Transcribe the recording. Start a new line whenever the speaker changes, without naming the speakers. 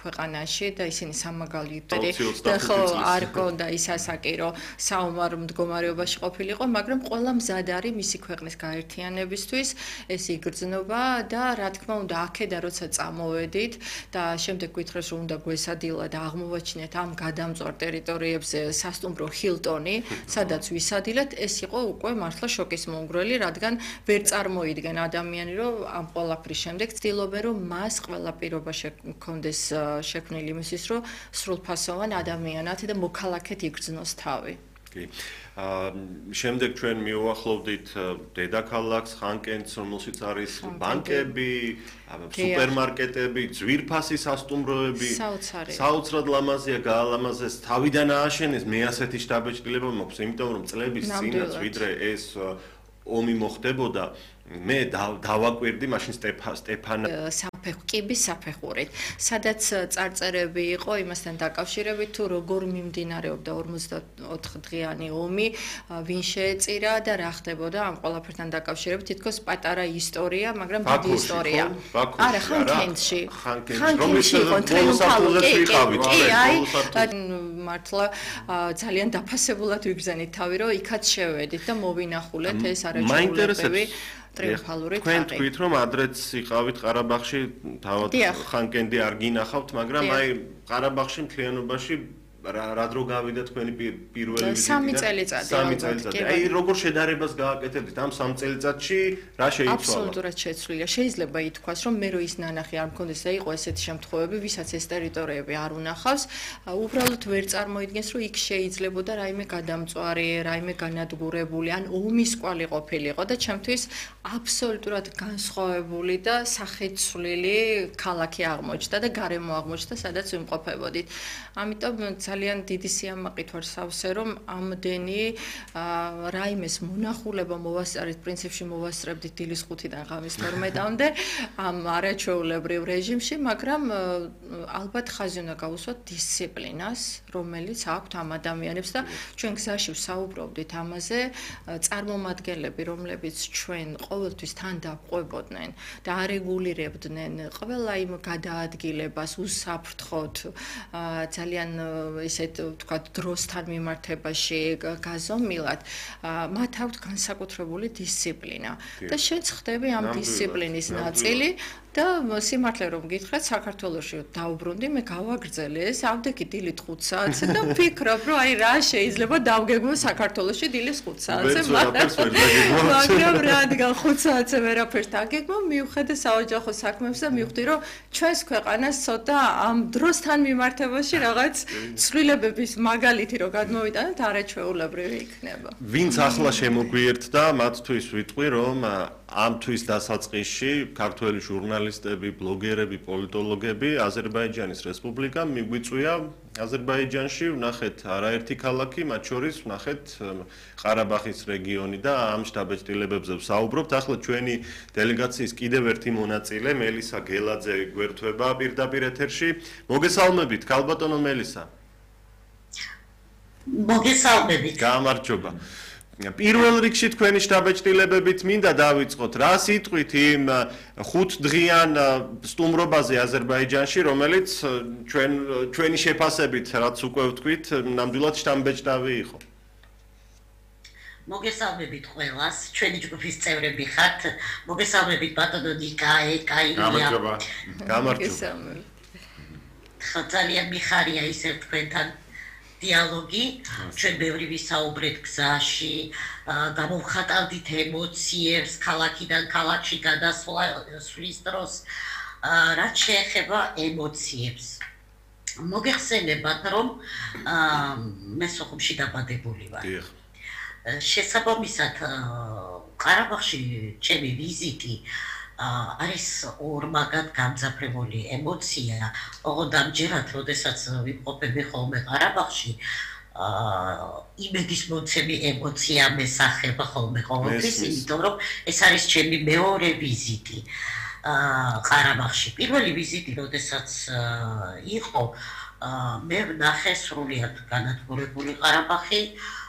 ქვეყანაში და ისინი სამაგალითოდ და ხო არ კონდა ის ასაკი რომ საომარ მდგომარეობაში ყოფილიყო, მაგრამ ყველა მზად არის მისი ქვეყნის გაერთიანებისთვის, ეს იგრძნობა და რა თქმა უნდა აქედა როცა წამოვედით და შემდეგ გითხრეს რომ უნდა გვესადილად აღმოვაჩინეთ ამ გადამწვარ ტერიტორიებზე სასტუმრო ჰილტონი, სადაც ვისადილეთ, ეს იყო უკვე მართლა შოკის მომგვრელი, რადგან ვერ წარმოიდგენ ადამიანი რომ ამ ყველაფრის შემდეგ ცდილობენ რომ მას ყველა პირობა ჰქონდეს შექმნილი იმისთვის რომ სრულფასოვან ადამიანად და მოქალაქედ იგრძნოს თავი.
კი. შემდეგ ჩვენ მივუახლოვდით დედაქალაქს, ხანკენტს, რომელშიც არის ბანკები, სუპერმარკეტები, ძვირფასი სასტუმროები. საოცრად ლამაზია, გაალამაზეს, თავიდან ააშენეს, მე ასეთი შთაბეჭდილება მაქვს, იმიტომ რომ წლების წინაც ვიდრე ეს ომი მოხდებოდა, მე დავაკვირდი მაშინ სტეფან
კიბის საფეხურით, სადაც წარწერები იყო იმასთან დაკავშირებით, თუ როგორ მიმდინარეობდა 54 დღიანი ომი, ვინ შეეწირა და რა ხდებოდა ამ ყველაფერთან დაკავშირებით, თითქოს პატარა ისტორია, მაგრამ დიდი ისტორია. არა, ხანკენტში. ხანკენტში იყო ტრიუმფალური მართლა ძალიან დაფასებულად ვიგრძენით თავი, რომ იქაც შევედით და მოვინახულეთ ეს არაჩვეულებრივი ტრიუმფალური თაღი.
თქვენ თქვით რომ ადრეც იყავით ყარაბაღში, თავად ხანკენტი არ გინახავთ, მაგრამ აი ყარაბაღში მთლიანობაში რა დრო გავიდა თქვენი პირველი ვიზიტი?
3 წელიწადი.
3 წელიწადი. აი როგორ შედარებას გააკეთებდით ამ 3 წელიწადში, რა შეიცვალა?
აბსოლუტურად შეცვლილია. შეიძლება ითქვას, რომ მე რო ის ნანახი არ მქონდეს და იყო ესეთი შემთხვევები, ვისაც ეს ტერიტორიები არ უნახავს, უბრალოდ ვერ წარმოიდგენს, რომ იქ შეიძლებოდა რაიმე გადამწვარი, რაიმე განადგურებული, ან ომის კვალი ყოფილიყო და ჩემთვის აბსოლუტურად განსხვავებული და სახეცვლილი ქალაქი აღმოჩნდა და გარემო აღმოჩნდა, სადაც ვიმყოფებოდით. ამიტომ ძალიან დიდი სიამაყით ვარ სავსე, რომ ამდენი რაიმეს მონახულება მოვასწრეთ, პრინციპში მოვასწრებდით დილის 5-დან ღამის 12-მდე ამ არაჩვეულებრივ რეჟიმში, მაგრამ ალბათ ხაზი უნდა გავუსვათ დისციპლინას, რომელიც აქვთ ამ ადამიანებს და ჩვენ გზაში ვსაუბრობდით ამაზე, წარმომადგენლები, რომლებიც ჩვენ ყოველთვის თან დავყვებოდნენ და არეგულირებდნენ ყველა იმ გადაადგილებას, უსაფრთხოდ, ძალიან ისეთ ვთქვათ დროსთან მიმართებაში გაზომილად, მათ აქვთ განსაკუთრებული დისციპლინა და შენც ხდები ამ დისციპლინის ნაწილი და სიმართლე რომ გითხრათ, საქართველოში დავუბრუნდი, მე გავაგრძელე ეს, ავდექი დილით 5 საათზე და ვფიქრობ, რომ აი რა შეიძლება დავგეგმო საქართველოში დილის 5 საათზე, მაგრამ რადგან 5 საათზე ვერაფერს დაგეგმო, მივხედე საოჯახო საქმეებს და მივხვდი, რომ ჩვენს ქვეყანას ცოტა ამ დროსთან მიმართებაში რაღაც ცვლილებების მაგალითი რო გადმოვიტანოთ, არაჩვეულებრივი იქნება.
ვინც ახლა შემოგვიერთდა, მათთვის ვიტყვი, რომ ამ თვის დასაწყისში ქართველი ჟურნალისტები, ბლოგერები, პოლიტოლოგები აზერბაიჯანის რესპუბლიკამ მიგვიწვია აზერბაიჯანში ვნახეთ არაერთი ქალაქი, მათ შორის ვნახეთ ყარაბაღის რეგიონი და ამ შთაბეჭდილებებზე ვსაუბრობთ. ახლა ჩვენი დელეგაციის კიდევ ერთი მონაწილე, მელისა გელაძე გვერდება პირდაპირ ეთერში. მოგესალმებით, ქალბატონო მელისა.
მოგესალმებით.
გამარჯობა. პირველ რიგში თქვენი შთაბეჭდილებებით მინდა დავიწყოთ, რა სიტყვით იმ 5 დღიან სტუმრობაზე აზერბაიჯანში, რომელიც ჩვენი შეფასებით, რაც უკვე ვთქვით, ნამდვილად შთამბეჭდავი იყო.
მოგესალმებით ყველას, ჩვენი ჯგუფის წევრები ხართ. მოგესალმებით ბატონო ნიკაია.
გამარჯობა.
გამარჯობა.
ძალიან მიხარია ისე თქვენთან დიალოგი, ჩვენ ბევრი ვისაუბრეთ გზაში, გამოვხატავდით ემოციებს, ქალაქიდან ქალაქში გადასვლის დროს, რაც შეეხება ემოციებს. მოგეხსენებათ, რომ მე სოხუმში დაბადებული ვარ. შესაბამისად, ყარაბაღში ჩემი ვიზიტი არის ორმაგად გამძაფრებული ემოცია, ოღონდ ამჯერად, როდესაც ვიმყოფები ხოლმე ყარაბაღში, იმედის მოცემი ემოცია მესახება ხოლმე ყოველთვის, იმიტომ რომ ეს არის ჩემი მეორე ვიზიტი ყარაბაღში. პირველი ვიზიტი, როდესაც იყო, მე ვნახე სრულიად განადგურებული ყარაბაღი,